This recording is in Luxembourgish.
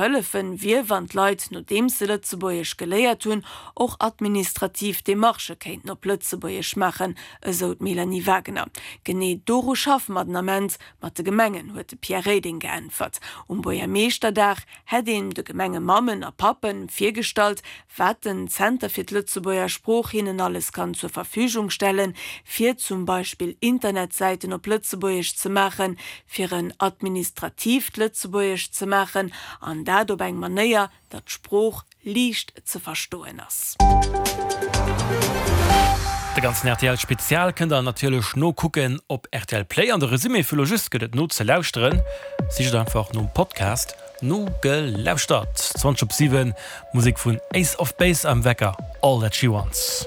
hëllefen, wier, wann d'Leit, nodeems se Lëtzebuergesch geléiert hunn, och administrativ Demarchë kéinten op Lëtzebuergesch maachen, esou d'Mélanie Wagener. Genee doru schaffe mer den Ament mat de Gemengen, huet de Pierre Reding geäntwert. Um Buergermeeschterdag hätt een de Gemengemammen a Pappen virgestallt, wat den Zenter fir d'Lëtzebuerger Sprooch hinnen alles kann zur Verfügung stellen, fir zum Beispill Internetsäiten op Lëtzebuergesch ze maachen, fir en administratiivt Lëtzebuergesch ze maachen, an dat op eng Manéier, datt d'Sprooch liicht ze verstoen ass. De ganzen rtl Spezial kënnt der natierlech nokucken op rtl Play an de Resumé vu lo just gëtt et nozelauschteren. Sicht einfach nom Podcast Nogelauschtert. 20 op 7, Musek vun Ace of Base am Wecker, All That She Wants.